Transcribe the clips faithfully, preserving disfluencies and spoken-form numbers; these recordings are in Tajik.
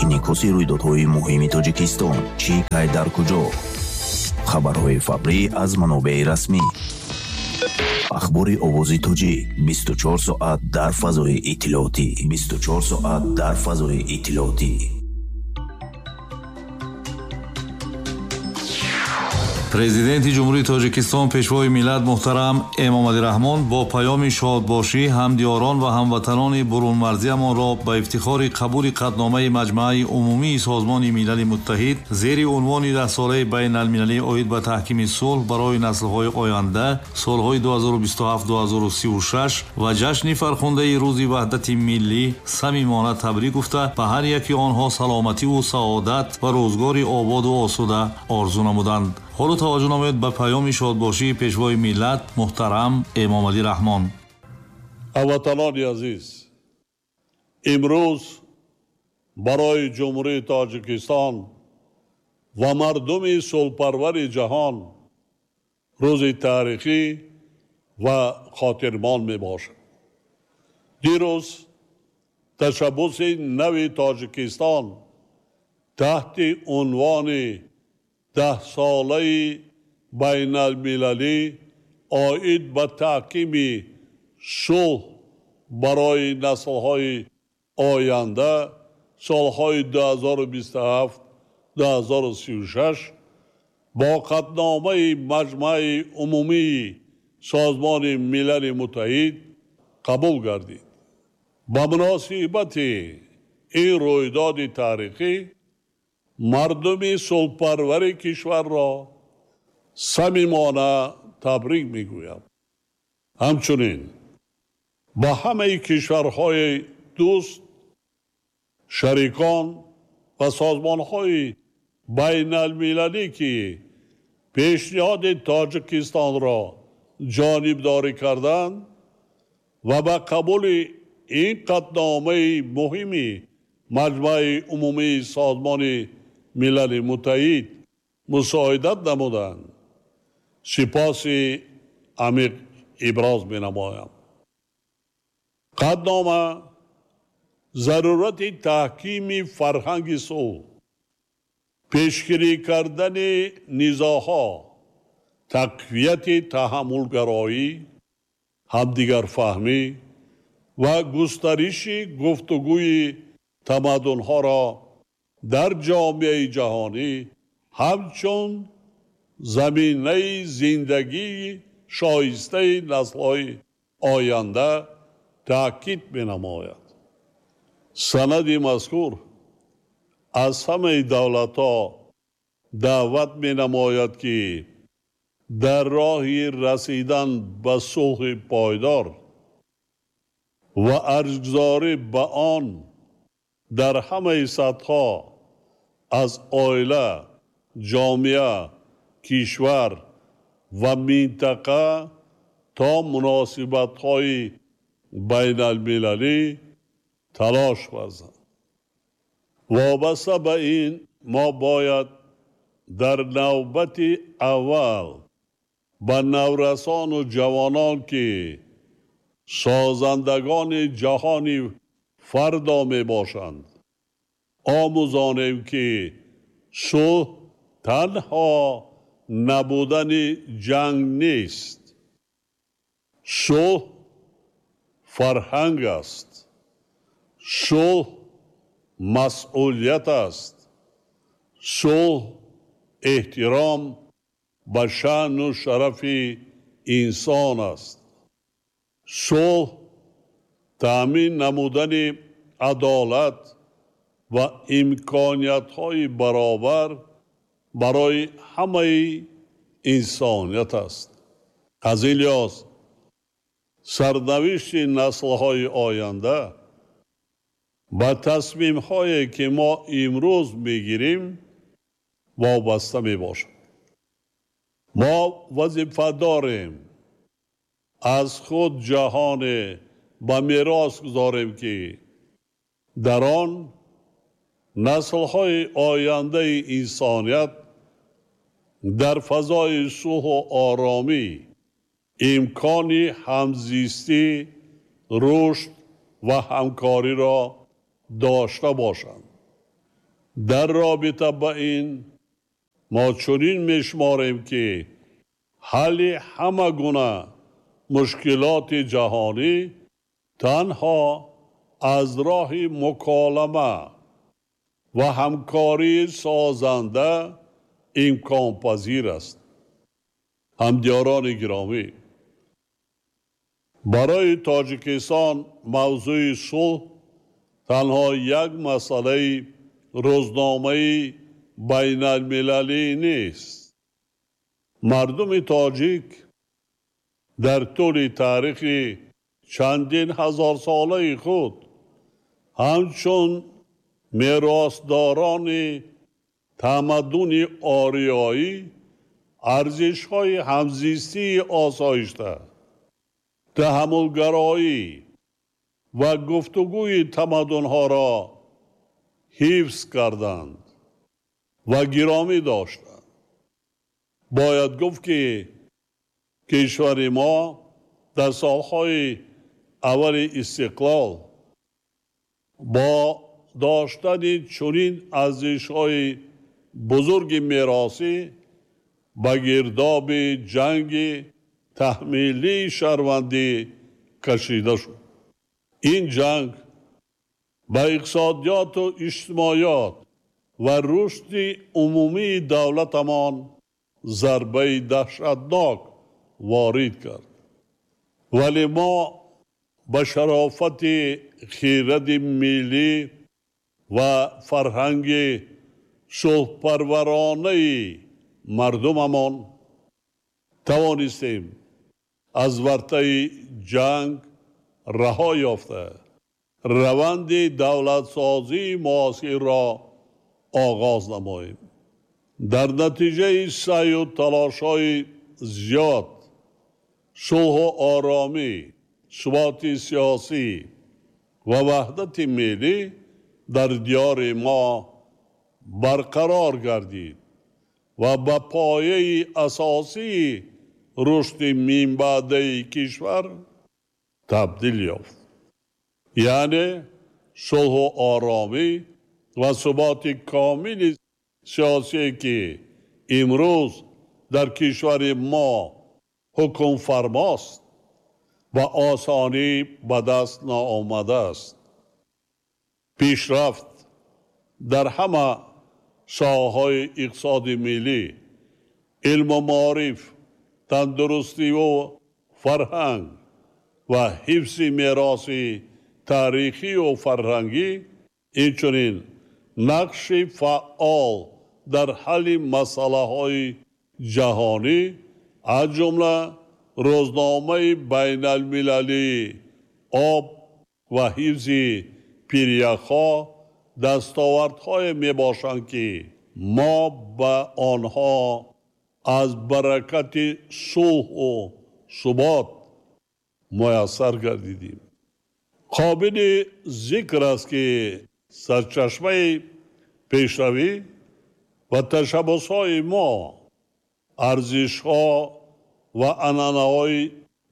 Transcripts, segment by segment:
Инъикоси рӯйдодҳои муҳими Тоҷикистон чӣ, кай, дар куҷо? Хабарҳои фаврӣ аз манобеи расмӣ. Ахбори Овози Тоҷик бисту чор соат дар фазои иттилоотӣ. Бисту чор соат дар фазои иттилоотӣ. Президенти Ҷумҳурии Тоҷикистон, Пешвои миллат муҳтарам Эмомалӣ Раҳмон бо паёми шодбошӣ ҳамдиёрон ва ҳамватанони бурунмарзиямонро ба ифтихори қабули қатъномаи Маҷмааи Умумии Созмони Милали Муттаҳид зери унвони даҳсолаи байналмилалӣ оид ба таҳкими сулҳ барои наслҳои оянда солҳои ду ҳазору бисту ҳафт ду ҳазору сию шаш ва ҷашни фархундаи Рӯзи Ваҳдати Миллӣ самимона табрик гуфта, ба ҳар яки онҳо саломативу саодат ва рӯзгори ободу осуда орзу намуданд. Ҳоло таваҷҷӯҳ намоед ба паёми шодбошии Пешвои миллат муҳтарам Эмомалӣ Раҳмон. Ҳамватанони азиз, имрӯз барои Ҷумҳурии Тоҷикистон ва мардуми сулҳпарвари ҷаҳон рӯзи таърихӣ ва хотирмон мебошад. Дирӯз ташаббуси нави Тоҷикистон таҳти унвони даҳсолаи байналмилалӣ оид ба таҳкими сулҳ барои наслҳои оянда солҳои ду ҳазору бисту ҳафт ду ҳазору сию шаш бо қатъномаи Маҷмааи Умумии Созмони Милали Муттаҳид қабул гардид. Ба муносибати ин рӯйдоди таърихӣ мардуми сулҳпарвари кишварро самимона табрик мегӯям. Ҳамчунин ба ҳамаи кишварҳои дӯст, шарикон ва созмонҳои байналмилалӣ, ки пешниҳоди Тоҷикистонро ҷонибдорӣ карданд ва ба қабули ин қатъномаи муҳими Маҷмааи Умумии Созмони Милали Муттаҳид мусоидат намуданд, сипоси амиқ иброз менамоям. Қатънома зарурати таҳкими фарҳанги сулҳ, пешгирӣ кардани низоъҳо, тақвияти таҳаммулгароӣ, ҳамдигарфаҳмӣ ва густариши гуфтугӯи тамаддунҳоро дар ҷомеаи ҷаҳонӣ ҳамчун заминаи зиндагии шоистаи наслҳои оянда таъкид менамояд. Санади мазкур аз ҳамаи давлатҳо даъват менамояд, ки дар роҳи расидан ба сулҳи пойдор ва арҷгузорӣ ба он дар ҳамаи сатҳҳо аз оила, ҷомеа, кишвар ва минтақа то муносибатҳои байналмилалӣ талош варзанд. Вобаста ба ин мо бояд дар навбати аввал ба наврасону ҷавонон, ки созандагони ҷаҳони фардо мебошанд, омӯзонем, ки сулҳ танҳо набудани ҷанг нест. Сулҳ фарҳанг аст. Сулҳ масъулият аст. Сулҳ эҳтиром ба шаъну шарафи инсон аст. Сулҳ таъмин намудани адолат ва имкониятҳои баробар барои ҳамаи инсоният аст. Аз ин лиҳоз сарнавишти наслҳои оянда ба тасмимҳое, ки мо имрӯз мегирем, вобаста мебошад. Мо вазифа дорем аз худ ҷаҳоне ба мерос гузорем, ки дар он наслҳои ояндаи инсоният дар фазои сулҳу оромӣ имкони ҳамзистӣ, рушд ва ҳамкориро дошта бошанд. Дар робита ба ин мо чунин мешуморем, ки ҳалли ҳама гуна мушкилоти ҷаҳонӣ танҳо аз роҳи муколама ва ҳамкории созанда имконпазир аст. Ҳамдиёрони гиромӣ, барои Тоҷикистон мавзӯи сулҳ танҳо як масъалаи рӯзномаи байналмилалӣ нест. Мардуми тоҷик дар тӯли таърихи чандин ҳазорсолаи худ ҳамчун меросдорони тамаддуни ориёӣ арзишҳои ҳамзистии осоишта, таҳаммулгароӣ ва гуфтугӯи тамаддунҳоро ҳифз карданд ва гиромӣ доштанд. Бояд гуфт, ки кишвари мо дар солҳои аввали истиқлол бо доштани чунин арзишҳои бузурги меросӣ ба гирдоби ҷанги таҳмилии шаҳрвандӣ кашида шуд. Ин ҷанг ба иқтисодиёту иҷтимоиёт ва рушди умумии давлатамон зарбаи даҳшатнок ворид кард. Вале мо ба шарофати хиради миллӣ ва фарҳанги сулҳпарваронаи мардумамон тавонистем аз вартаи ҷанг раҳо ёфта, раванди давлатсозии муосирро оғоз намоем. Дар натиҷаи саъю талошҳои зиёд, сулҳу оромӣ, суботи сиёсӣ ва ваҳдати миллӣ дар диёри мо барқарор гардид ва ба пояи асосии рушди минбаъдаи кишвар табдил ёфт. Яъне сулҳу оромӣ ва суботи комили сиёсие, ки имрӯз дар кишвари мо ҳукмфармост, ба осонӣ ба даст наомадааст. Пешрафт дар ҳама соҳаҳои иқтисоди миллӣ, илму маориф, тандурустиву фарҳанг ва ҳифзи мероси таърихию фарҳангӣ, инчунин нақши фаъол дар ҳалли масъалаҳои ҷаҳонӣ, аз ҷумла рӯзномаи байналмилалии об ва ҳифзи пиряхҳо дастовардҳое мебошанд, ки мо ба онҳо аз баракати сулҳу субот муяссар гардидем. Қобили зикр аст, ки сарчашмаи пешравӣ ва ташаббусҳои мо арзишҳо ва анъанаҳои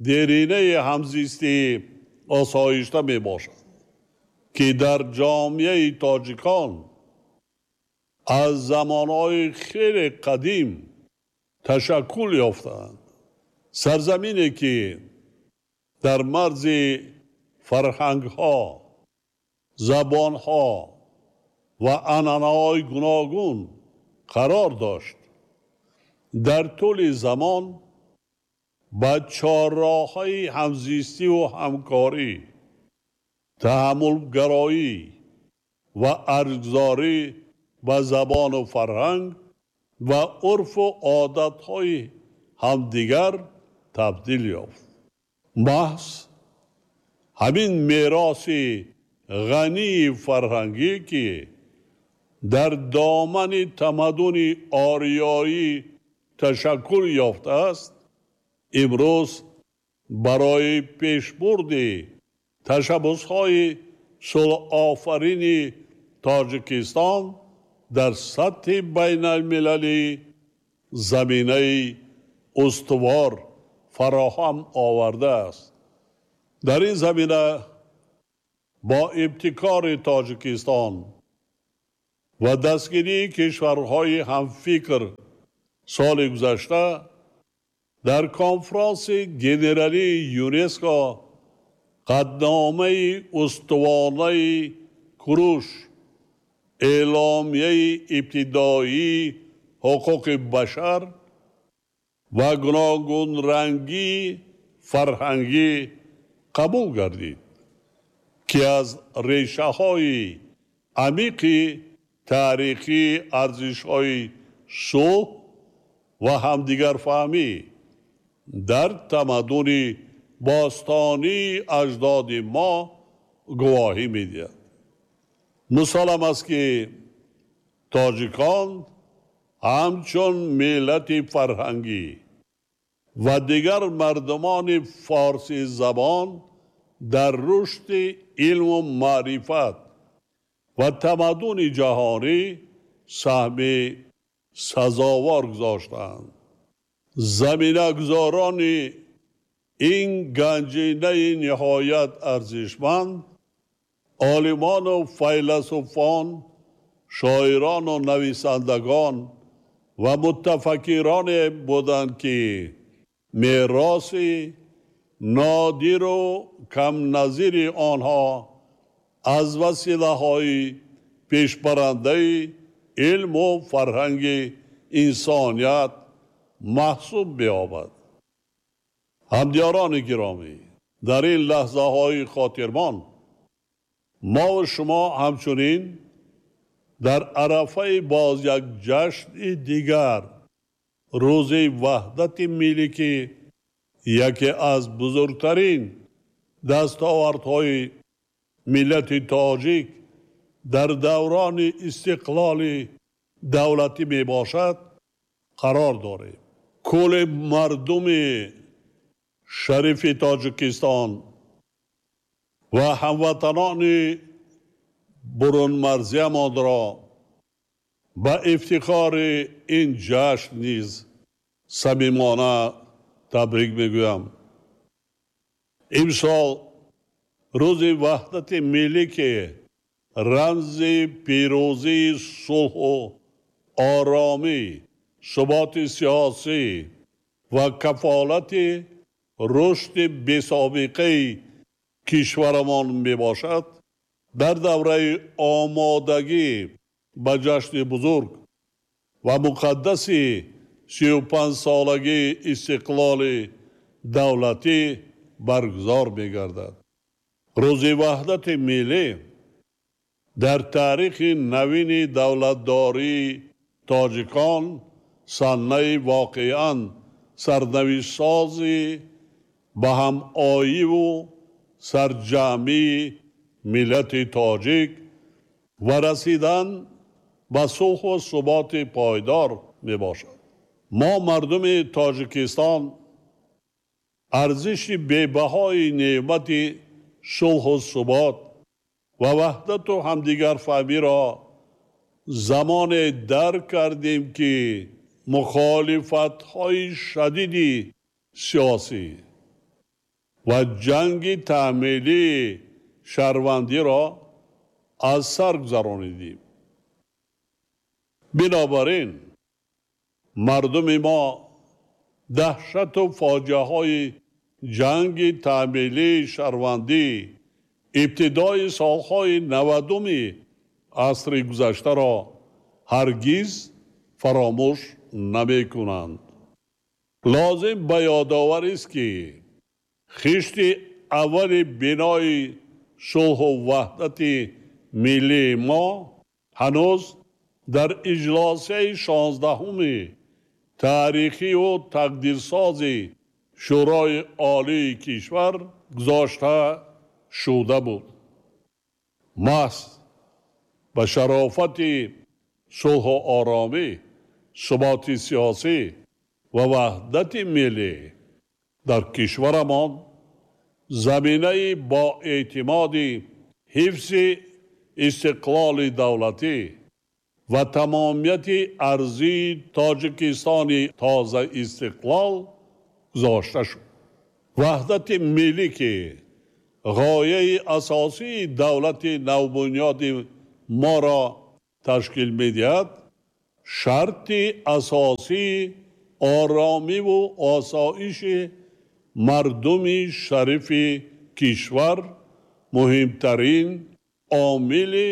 деринаи ҳамзистии осоишта мебошад, ки дар ҷомеаи тоҷикон аз замонҳои хеле қадим ташаккул ёфтаанд. Сарзамине, ки дар марзи фарҳангҳо, забонҳо ва анъанаҳои гуногун қарор дошт, дар тӯли замон ба чорроҳҳои ҳамзистиву ҳамкорӣ, таҳаммулгароӣ ва арҷгузорӣ ба забону фарҳанг ва урфу одатҳои ҳамдигар табдил ёфт. Маҳз ҳамин мероси ғании фарҳангӣ, ки дар домани тамаддуни ориёӣ ташаккул ёфтааст, имрӯз барои пешбурди ташаббусҳои сулҳофарини Тоҷикистон дар сатҳи байналмилалӣ заминаи устувор фароҳам овардааст. Дар ин замина Бо ибтикори Тоҷикистон ва дастгирии кишварҳои ҳамфикр соли гузашта дар конфронси генералии ЮНЕСКО қатъномаи устувонаи Куруш, эъломияи ибтидоии ҳуқуқи башар ва гуногунрангии фарҳангӣ қабул гардид, ки аз решаҳои амиқи таърихии арзишҳои сулҳ ва ҳамдигарфаҳмӣ дар тамаддуни бостонии аҷдоди мо гувоҳӣ медиҳад. Мусаллам аст, ки тоҷикон ҳамчун миллати фарҳангӣ ва дигар мардумони форсизабон дар рушди илму маърифат ва тамаддуни ҷаҳонӣ саҳми сазовор гузоштаанд. Заминагузорони ин ганҷинаи ниҳоят арзишманд олимону файласуфон, шоирону нависандагон ва мутафаккироне буданд, ки мероси нодиру камназири онҳо аз василаҳои пешбарандаи илму фарҳанги инсоният маҳсуб меёбад. Ҳамдиёрони гиромӣ, дар ин лаҳзаҳои хотирмон мо ва шумо ҳамчунин дар арафаи боз як ҷашни дигар, рӯзи ваҳдати миллӣ, ки яке аз бузургтарин дастовардҳои миллати тоҷик дар даврони истиқлоли давлатӣ мебошад, қарор дорем. Кулли мардуми шарифи Тоҷикистон ва ҳамватанони бурунмарзиямонро ба ифтихори ин ҷашн низ самимона табрик мегӯям. Имсол рӯзи ваҳдати миллӣ, ки рамзи пирӯзии сулҳу оромӣ, суботи сиёсӣ ва кафолати рушди бесобиқаи кишварамон мебошад, дар давраи омодагӣ ба ҷашни бузург ва муқаддаси сию панҷсолагии истиқлоли давлатӣ баргузор мегардад. Рӯзи ваҳдати миллӣ дар таърихи навини давлатдории тоҷикон саннаи воқеан сарнавиштсози ба ҳамоиву сарҷамъии миллати тоҷик ва расидан ба сулҳу суботи пойдор мебошад. Мо мардуми Тоҷикистон арзиши бебаҳои неъмати сулҳу субот ва ваҳдату ҳамдигарфаҳмиро замоне дарк кардем, ки мухолифатҳои шадиди сиёсӣ ва ҷанги таъмилии шаҳрвандиро аз сар гузаронидем. Бинобар ин мардуми мо даҳшату фоҷиаҳои ҷанги таъмилии шаҳрвандӣ ибтидои солҳои навадуми асри гузаштаро ҳаргиз фаромӯш намекунанд. Лозим ба ёдоварист, ки хишти аввали бинои сулҳу ваҳдати миллии мо ҳанӯз дар иҷлосияи шонздаҳуми таърихию тақдирсози Шӯрои Олии кишвар гузошта шуда буд. Маҳз ба шарофати сулҳу оромӣ, суботи сиёсӣ ва ваҳдати миллӣ дар кишварамон заминаи боэътимоди ҳифзи истиқлоли давлатӣ ва тамомияти арзии Тоҷикистони тозаистиқлол гузошта шуд. Ваҳдати миллӣ, ки Ғояи асосии давлати навбунёди моро ташкил медиҳад, шарти асосии оромиву осоиши мардуми шарифи кишвар, муҳимтарин омили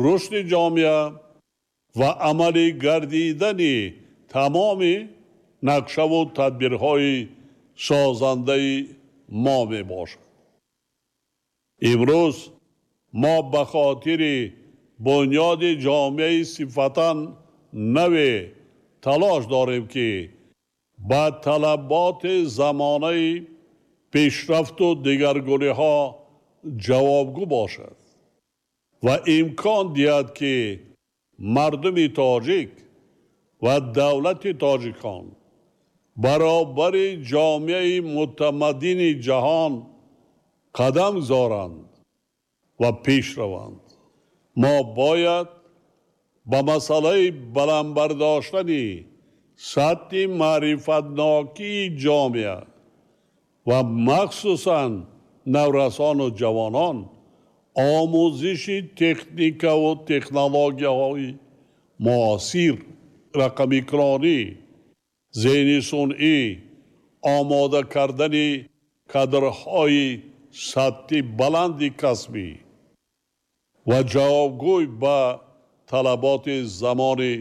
рушди ҷомеа ва амалӣ гардидани тамоми нақшаву тадбирҳои созандаи мо мебошад. Имрӯз мо ба хотири бунёди ҷомеаи сифатан наве талош дорем, ки ба талаботи замонаи пешрафту дигаргуниҳо ҷавобгӯ бошад ва имкон диҳад, ки мардуми тоҷик ва давлати тоҷикон баробари ҷомеаи мутамаддини ҷаҳон қадам гузоранд ва пеш раванд. Мо бояд ба масъалаи баланд бардоштани сатҳи маърифатнокии ҷомеа ва махсусан наврасону ҷавонон, омӯзиши техникаву технологияҳои муосир, рақамикронӣ, зеҳни сунъӣ, омода кардани кадрҳои сатҳи баланди касбӣ ва ҷавобгӯй ба талаботи замони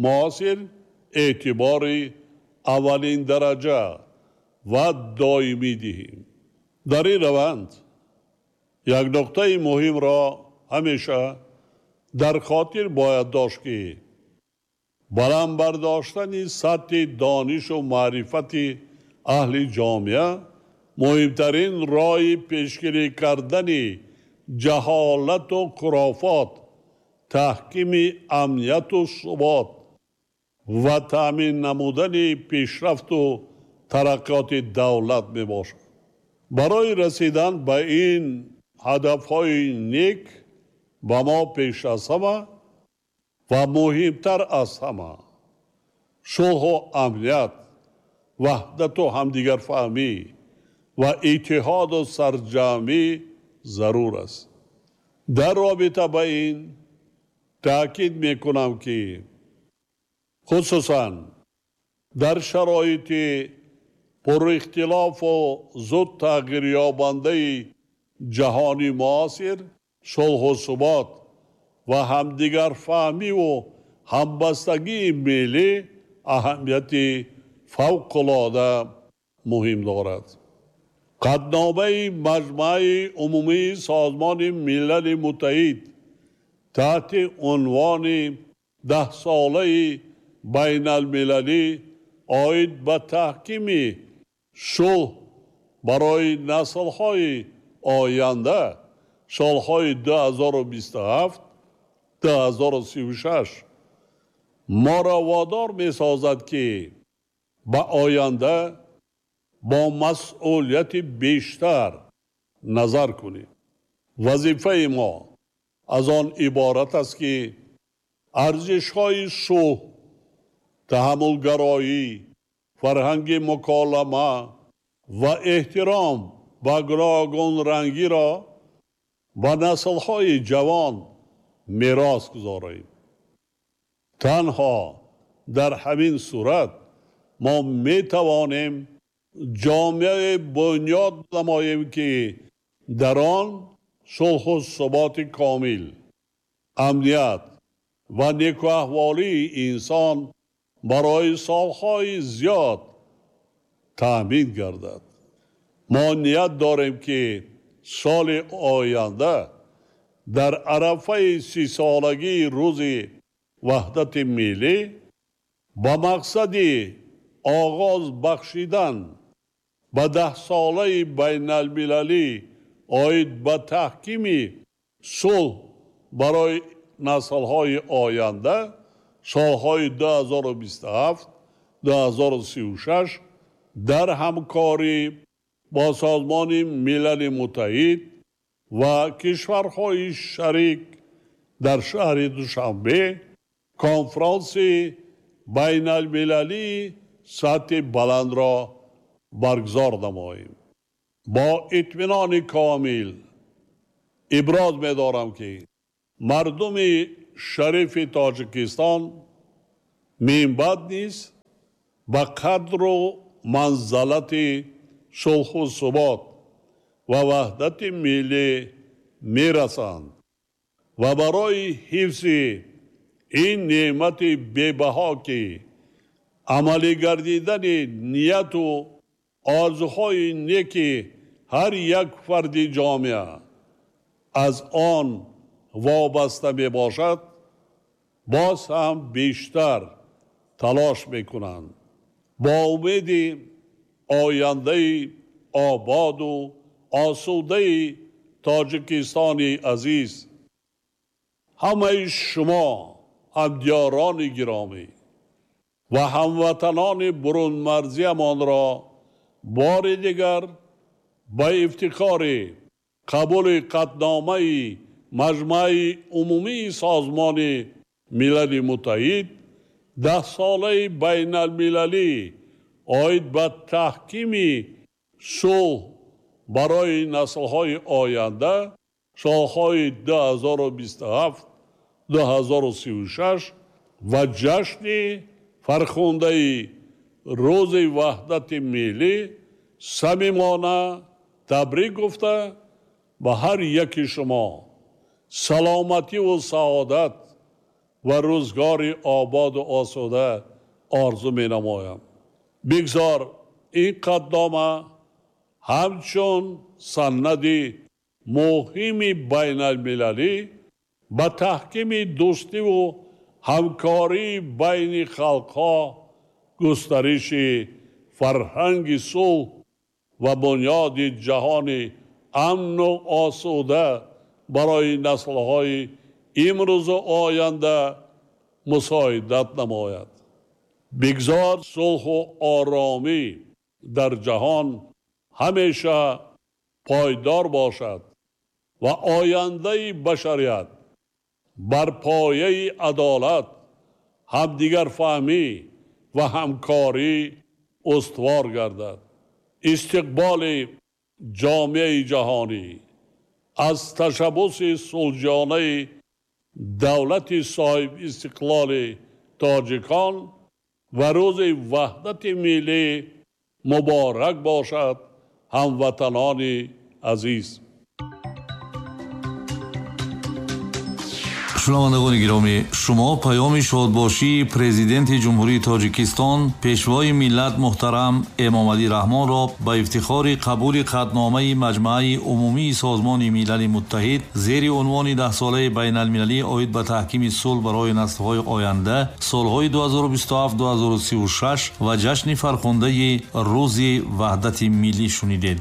муосир эътибори аввалин дараҷа ва доимӣ диҳем. Дар ин раванд як нуқтаи муҳимро ҳамеша дар хотир бояд дошт, ки баланд бардоштани сатҳи донишу маърифати аҳли ҷомеа муҳимтарин роҳи пешгирӣ кардани ҷаҳолату хурофот, таҳкими амнияту субот ва таъмин намудани пешрафту тараққиёти давлат мебошад. Барои расидан ба ин ҳадафҳои нек ба мо пеш аз ҳама ва муҳимтар аз ҳама сулҳу амният, ваҳдату ҳамдигарфаҳмӣ ва иттиҳоду сарҷамъӣ зарур аст. Дар робита ба ин таъкид мекунам, ки хусусан дар шароити пурихтилофу зуд тағйирёбандаи ҷаҳони муосир, сулҳу субот ва ҳамдигарфаҳмиву ҳамбастагии миллӣ аҳамияти фавқулода муҳим дорад. Қатъномаи Маҷмаи Умумии Созмони Милали Муттаҳид таҳти унвони даҳсолаи байналмилалӣ оид ба таҳкими сулҳ барои наслҳои оянда солҳои ду ҳазору бисту ҳафт ду ҳазору сию шаш моро водор месозад, ки ба оянда бо масъулияти бештар назар кунем. Вазифаи мо аз он иборат аст, ки арзишҳои сулҳ, таҳаммулгароӣ, фарҳанги муколама ва эҳтиром ба гуногунрангиро ба наслҳои ҷавон мерос гузорем. Танҳо дар ҳамин сурат мо метавонем ҷомеаи бунёд намоем, ки дар он сулҳу суботи комил, амният ва некуаҳволии инсон барои солҳои зиёд таъмин гардад. Мо ният дорем, ки соли оянда дар арафаи сисолагии рӯзи ваҳдати миллӣ ба мақсади оғоз бахшидан ба даҳсолаи байналмилалӣ оид ба таҳкими сулҳ барои наслҳои оянда солҳои ду ҳазору бисту ҳафт ду ҳазору сию шаш дар ҳамкорӣ бо Созмони Милали Муттаҳид ва кишварҳои шарик дар шаҳри Душанбе конфронси байналмилалии сатҳи баландро баргузор намоем. Бо итминони комил иброз медорам, ки мардуми шарифи Тоҷикистон минбаъд низ ба қадру манзалати сулҳу субот ва ваҳдати миллӣ мерасанд ва барои ҳифзи ин неъмати бебаҳо, ки амалӣ гардидани нияту орзуҳои неки ҳар як фарди ҷомеа аз он вобаста мебошад, боз ҳам бештар талош мекунанд. Бо умеди ояндаи ободу осудаи Тоҷикистони азиз, ҳамаи шумо ҳамдиёрони гиромӣ ва ҳамватанони бурунмарзиямонро бори дигар ба ифтихори қабули қатъномаи Маҷмаи Умумии Созмони Милали Муттаҳид даҳсолаи байналмилалӣ оид ба таҳкими сулҳ барои наслҳои оянда солҳои ду ҳазору бисту ҳафт ду ҳазору сию шаш ва ҷашни фархундаи Рӯзи Ваҳдати Миллӣ самимона табрик гуфта, ба ҳар яки шумо саломативу саодат ва рӯзгори ободу осуда орзу менамоям. Бигзор ин қатънома ҳамчун санади муҳими байналмилалӣ ба таҳкими дӯстиву ҳамкории байни халқҳо, густариши фарҳанги сулҳ ва бунёди ҷаҳони амну осуда барои наслҳои имрӯзу оянда мусоидат намояд. Бигзор сулҳу оромӣ дар ҷаҳон ҳамеша пойдор бошад ва ояндаи башарият бар пояи адолат, ҳамдигарфаҳмӣ ва ҳамкорӣ устувор гардад. Истиқболи ҷомеаи ҷаҳонӣ аз ташаббуси сулҳҷонаи давлати соҳибистиқлоли тоҷикон ва Рӯзи Ваҳдати Миллӣ муборак бошад, ҳамватанони азиз. Шунавандагони гиромӣ, шумо паёми шодбошии Президенти Ҷумҳурии Тоҷикистон, Пешвои миллат муҳтарам Эмомалӣ Раҳмонро ба ифтихори қабули қатъномаи Маҷмаи Умумии Созмони Милали Муттаҳид зери унвони даҳсолаи байналмилалӣ оид ба таҳкими сулҳ барои наслҳои оянда солҳои ду ҳазору бисту ҳафт ду ҳазору сию шаш ва ҷашни фархундаи Рӯзи Ваҳдати Миллӣ шунидед.